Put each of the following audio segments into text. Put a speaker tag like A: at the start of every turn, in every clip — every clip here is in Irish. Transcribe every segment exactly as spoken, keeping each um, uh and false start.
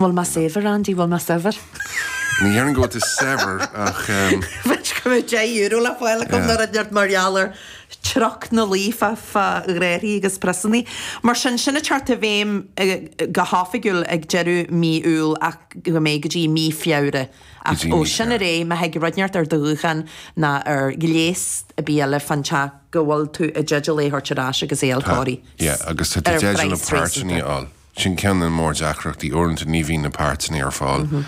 A: Bhfuil mé saibhir, Andy, bhfuil mé saibhir?
B: Ní dhéarfainn go bhfuil tú saibhir ach um,
C: Bheith go mbeadh deich euro le fáil agam nuair a deir mar gheall ar treocht na luí fá fá ghraithí agus priosanna. Mar sin sin ag teacht i bhfeidhm eh, go hoifigiúil ag deireadh mí Iúil ach go mbeidh go dtí mí Feabhra. Ach
B: dtí
C: ó
B: mí
C: sin ar
B: Feabhra.
C: aghaidh má thig rud inteacht ar do ghuthán ná ar ghléas ar bith eile fán teach go bhfuil tú i dteideal é a thabhairt ar ais agus é a
B: Tá,
C: chóiriú.
B: yeah, agus tá tú
C: Ar
B: i dteideal na
C: phraghas
B: páirteanna
C: réasúnta.
B: a fháil. Sin ceann de na mórdheacrachtaí uaireanta ní bhíonn na páirteanna ar fáil.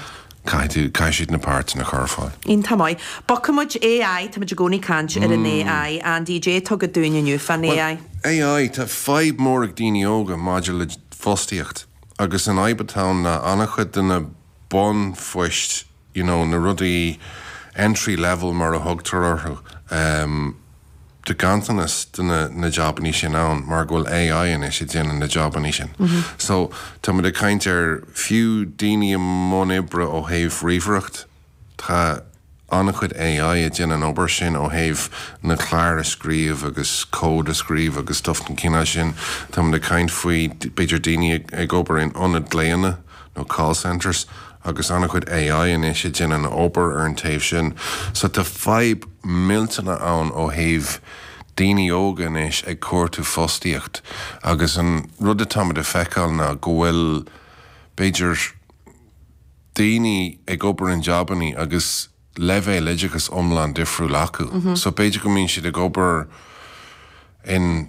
B: Caithfidh tú caithfidh siad na páirteanna a chur ar fáil.
C: Iontach maith. Bogfaidh muid AI, tá muid i gcónaí ag caint ar an AI. Andy J tugadh dúinn inniu fán AI.
B: AI tá fadhb mór ag daoine óga maidir le fostaíocht agus an fhadhb atá ann ná an-chuid de na bunphoist you know, na rudaí entry level mar a thugtar orthu. Um, Tá ganntanas de na, na jabanna sin ann mar go bhfuil AI anois ag déanamh na jabanna sin. Mm -hmm. So tá muid ag caint ar fiú daoine i mbun oibre ó thaobh ríomhaireacht Tá an-chuid AI ag déanamh an obair sin ó thaobh na cláir a scríobh agus cód a scríobh agus stuff den chineál sin. Tá muid ag caint faoi b'fhéidir daoine ag, ag obair in ionad glaonna nó call centers agus an-chuid AI anois ag déanamh an obair ar an taobh sin. So tá fadhb millteanach ann ó thaobh daoine óga anois ag cuartú fostaíocht agus an rud atáimid a feiceáil ná go bhfuil b'fhéidir daoine ag obair in jabanna agus leibhéal oideachas iomlán difriúil acu. Mm -hmm. So b'fhéidir go mbíonn siad ag obair in